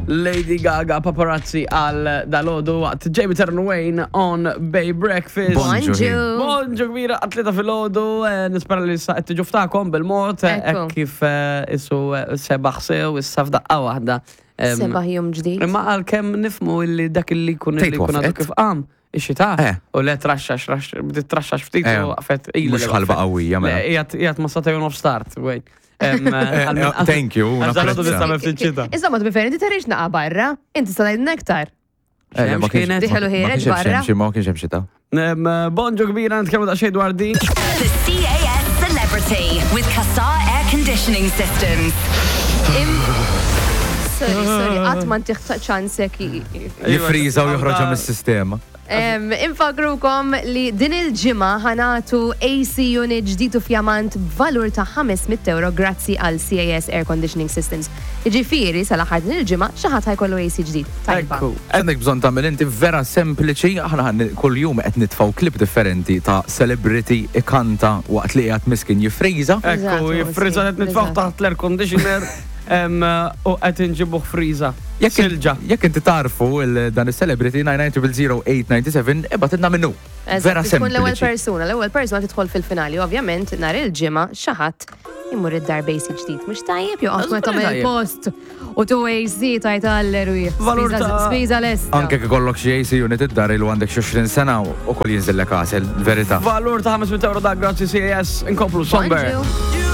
Lady Gaga Paparazzi għal dalodu waqt Jamie Turn Wayne on Bay Breakfast. Bonġu. Bonġu kbira għatlita fil-ħodu, eh, nispera li sa' tiġu ftakom bil-mod, eh, Ekku. kif eh, isu eh, sebaħ sew, issa f'daqqa waħda. Em, Sebaħ jum ġdid. Imma għal kem nifmu illi dak illi jkun illi Tgħid jkun għadu wafqet? kif qam, ix-xita, Eh. u le traxxax, rax- bdiet traxxax ftit Eh. u waqfet ilha Mhux li ħalba waqfet. qawwija, mela. Le, qiegħed qiegħed ma sata off start, wait. Em, għal min- eh, thank you, Għax dal-għodu napprezza. nista' ma ftit xita. Insomma, to be fair, inti tarix naqa barra, inti sa ngħidilna aktar. Eh, le, ma Xemx kienx- kienet. Diħelu ma ħireġ kienx hemm barra. xemx, Ma kienx hemm xita. Em, Bonġu kbira, nitkellmu daqsxejn dwar din. The CAS Celebrity with Qatar Air Conditioning Systems. Im- Sorry, sorry, qatt ma ntiħ ċansek. Jifriża u joħroġha mis-sistema. Infakrukom li din il-ġimgħa ħanatu AC unit ġdid u fjamant b'valur ta' 500 euro grazzi għal CAS Air Conditioning Systems. Ġifieri sal-aħħar din il-ġimgħa xi ħadd ħajkollu AC ġdid. Tajba. Ekku. Għandek bżon tagħmel inti vera sempliċi, aħna ħan kull jum qed nitfgħu klip differenti ta' celebrity ikanta waqt li qiegħed miskin jifriża. Ekku, Eżatt, jifriza qed nitfgħu eżatt. taħt l-air conditioner em, u qed inġibuh friża. Silġa. Jekk inti tarfu il- dan is-celebrity 9900897 ibgħatilna minnu. Eżatt, Vera tkun l-ewwel sempliċi. persuna, l-ewwel persuna tidħol fil-finali, ovvjament nhar il-ġimgħa xi ħadd imur id-dar basic ġdid. Mhux tajjeb joqgħod meta tagħmel tajjeb. il-post u tu AC tajt alleru. Valur ta' Spiża lesta. Anke kif ikollok xi AC unit id-dar ilu għandek xi 20 sena u koll jinżillek għasel, verità. Valur ta' 500 euro da grazzi CAS inkomplu somber. Bonġu.